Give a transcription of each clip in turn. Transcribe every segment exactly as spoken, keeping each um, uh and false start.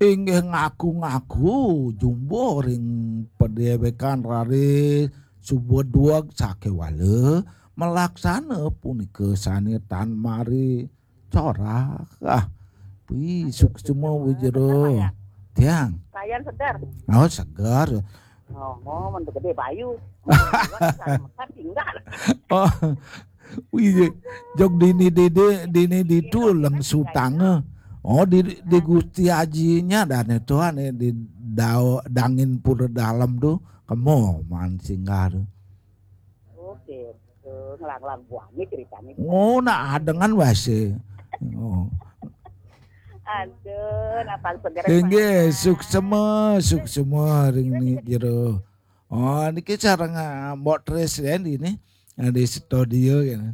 Inggih ngaku-ngaku jumbo ring padéwékan raris suba dueg sakéwala malaksana punika sané tan mari corah. Ah, pi suksma Wijero. Tiang. Sayan seger. Oh, seger. Oh, oh, mentu gedé bayu. Tinggal. Oh, wih, jog dini dini dini ditu leng sutanga. Oh, di di Gusti Ajinya dane tuan di dao dangin pura dalam tu kemo man singgah tu. Oke, betul. Ngelang-lang buahnya ceritanya. Oh, nak adengan wase. Oh. Aduh, napang seger. Inggih, suksma, suksma ring ni jero. Oh, niki sareng ah, Mbok Tris ya di ni. Ah, di studio ya.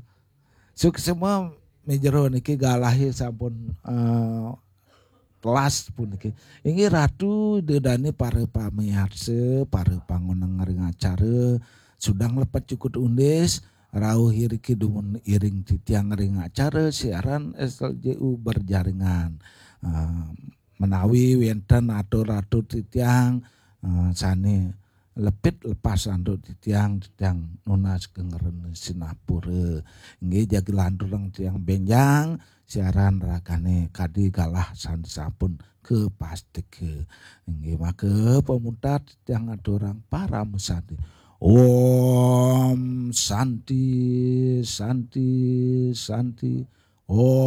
Suksma Mijero niki galahe sampun eh, telas puniki. Inggih Ratu Ida Dane para pamiarsa, para pangoneng ring acara Sudang Lepet Cukut Undis, rauh iriki dumun iring titiang ring acara siaran S L J U berjaringan. Eh, menawi wenten atur-atur titiang eh, sane lepit lepas antuk titiang, titiang nunas geng rena sinapura. Inggih jagi lanturang tiang benjang siaran rakane kadi galah sane sampun kapastika. Inggih maka pamuntat titiang aturang parama santi. Om Santi, Santi, Santi. Om